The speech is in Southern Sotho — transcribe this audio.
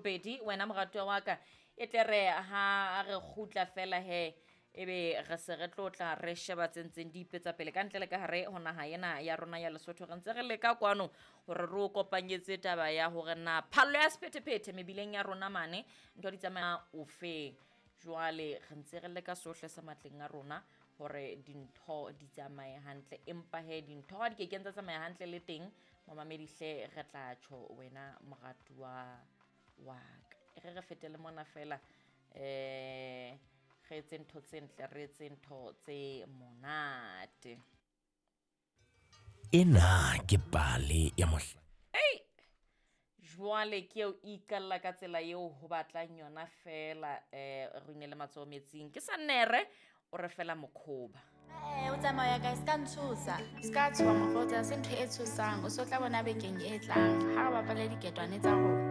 Bobedi wena moratuwa wa ka e tle re ha re kgutla fela he ebe re se re tlo tla re sheba tse ntseng di ipetsa pele ka ntle le ka hare ho naha ena ya rona ya Lesotho. Re ntse re leka kwano hore re o kopanyetse taba ya hore na phallo ya sephethephethe mebileng ya rona mane ntho di tsamaya ofeng. Jwale re ntse re leka sohle se matleng a rona hore dintho di tsamaye hantle, empa he dintho ha di kekeng tsa tsamaya hantle le teng momamedi hle re tla tjho wena moratuwa wa ka. E re re fetele mona fela re etse ntho tse ntle, re etse ntho tse monate. Ena ke pale ya mohla. Ei! Jwale ke eo e iqalla ka tsela eo ho batlang yona fela re inele matsoho metsing. Ke Sannere o re fela mokhoba. Ee, o tsamaya kae? Se ka ntshosa. Se ka tshoha mokgotsi, ha se ntho e tshosang. O so tla bona bekeng e tlang ha re bapale diketwane tsa rona.